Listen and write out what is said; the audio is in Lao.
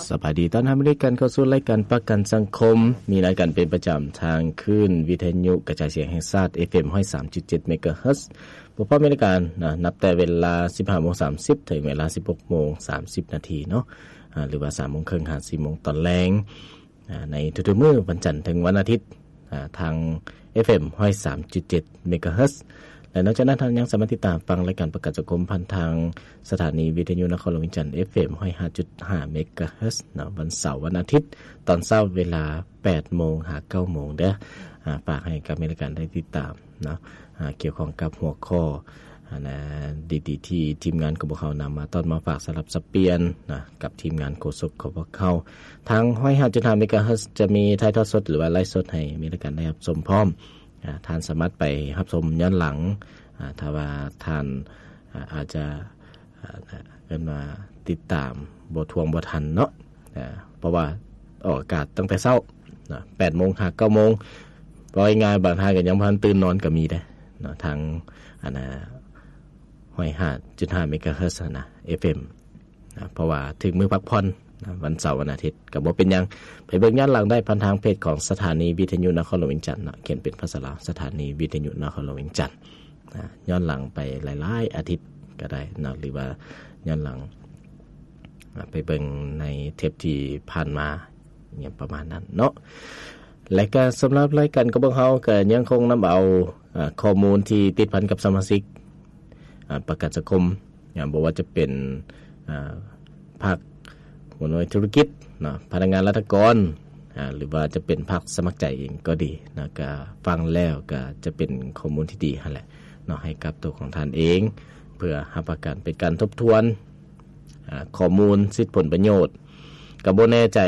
ສະບາຍດີ ຕ້ອນຮັບເຂົ້າສູ່ລາຍການປະກັນສັງຄົມ, ມີລາຍການເປັນປະຈຳທາງຄື້ນວິທະຍຸກະຈາຍສຽງແຫ່ງຊາດ ເອຟເອັມ ຮ້ອຍສາມຈຸດເຈັດ ເມກາເຮີດ. ພົບກັນເປັນລາຍການນະ ນັບແຕ່ເວລາ ສິບຫ້າໂມງສາມສິບ ເຖິງເວລາ ສິບຫົກໂມງສາມສິບນາທີເນາະ, ອາ ຫຼືວ່າ ສາມໂມງເຄິ່ງ ຫາ ສີ່ໂມງຕອນແລງ. ອາ ໃນທຸກໆມື້ ວັນຈັນເຖິງວັນອາທິດ ອາ ທາງ ເອຟເອັມ ຮ້ອຍສາມຈຸດເຈັດ ເມກາເຮີດ. ແລະ ນອກຈາກນັ້ນ ທ່ານຍັງສາມາດຕິດຕາມຟັງລາຍການປະກັນສັງຄົມຜ່ານທາງສະຖານີວິທະຍຸນະຄອນຫຼວງວຽງຈັນ ເອຟເອັມ ຮ້ອຍຫ້າຈຸດຫ້າ ເມກາເຮີດເນາະ, ວັນເສົາ ວັນອາທິດ ຕອນເຊົ້າເວລາ ແປດໂມງ ຫາ ເກົ້າໂມງເດີ. ອາ ຝາກໃຫ້ກັບແຟນລາຍການໄດ້ຕິດຕາມເນາະ, ອາ ກ່ຽວຂ້ອງກັບຫົວຂໍ້ ອັນນະ ດີໆ ທີ່ທີມງານຂອງພວກເຮົານຳມາຕ້ອນມາຝາກສະຫຼັບສັບປ່ຽນນະ ກັບທີມງານໂຄສົກຂອງພວກເຮົາ. ທາງ ຮ້ອຍຫ້າຈຸດຫ້າ ເມກາເຮີດ ຈະມີຖ່າຍທອດສົດ ຫຼືວ່າໄລຟ໌ສົດໃຫ້ແຟນລາຍການໄດ້ຮັບຊົມພ້ອມ. ອາ ທ່ານສາມາດໄປຮັບຊົມຍ້ອນຫຼັງ ອາ ຖ້າວ່າທ່ານ ອາ ອາດຈະ ອາ ເອີ້ນວ່າຕິດຕາມບໍ່ທ່ວງບໍ່ທັນເນາະ, ອາ ເພາະວ່າອອກອາກາດຕັ້ງແຕ່ເຊົ້ານະ ແປດໂມງຫາ ເກົ້າໂມງ. ເວົ້າງ່າຍໆ ບາງທ່ານກໍຍັງບໍ່ທັນຕື່ນນອນກໍມີເດ້ເນາະ, ທາງ ອັນນະ ຮ້ອຍຫ້າຈຸດຫ້າ ເມກາເຮີດນະ ເອຟເອັມ ນະ, ເພາະວ່າເຖິງມື້ພັກຜ່ອນນະ ວັນເສົາ ວັນອາທິດ ກໍບໍ່ເປັນຫຍັງ, ໄປເບິ່ງຍ້ອນຫຼັງໄດ້ຜ່ານທາງເພຈຂອງສະຖານີວິທະຍຸນະຄອນຫຼວງວຽງຈັນເນາະ, ຂຽນເປັນພາສາລາວ ສະຖານີວິທະຍຸນະຄອນຫຼວງວຽງຈັນນະ, ຍ້ອນຫຼັງໄປຫຼາຍໆອາທິດກໍໄດ້ເນາະ, ຫຼືວ່າຍ້ອນຫຼັງ ອາ ໄປເບິ່ງໃນເທບທີ່ຜ່ານມາ ຫຍັງປະມານນັ້ນເນາະ. ແລະກະສຳລັບລາຍການຂອງພວກເຮົາກະຍັງຄົງນຳເອົາ ອາ ຂໍ້ມູນທີ່ຕິດພັນກັບສະມາຊິກ ອາ ປະກັນສັງຄົມ ອາ ບໍ່ວ່າຈະເປັນ ອາ ພາກຫົວໜ່ວຍທຸລະກິດເນາະ, ພະນັກງານລັດຖະກອນ ອາ ຫຼືວ່າຈະເປັນພາກສະໝັກໃຈເອງກໍດີນະ, ກະຟັງແລ້ວກະຈະເປັນຂໍ້ມູນທີ່ດີຫັ້ນແຫຼະເນາະ ໃຫ້ກັບໂຕຂອງທ່ານເອງ ເພື່ອຮັບປະກັນເປັນການທົບທວນ ອາ ຂໍ້ມູນສິດຜົນປະໂຫຍດ. ກະບໍ່ແນ່ໃຈ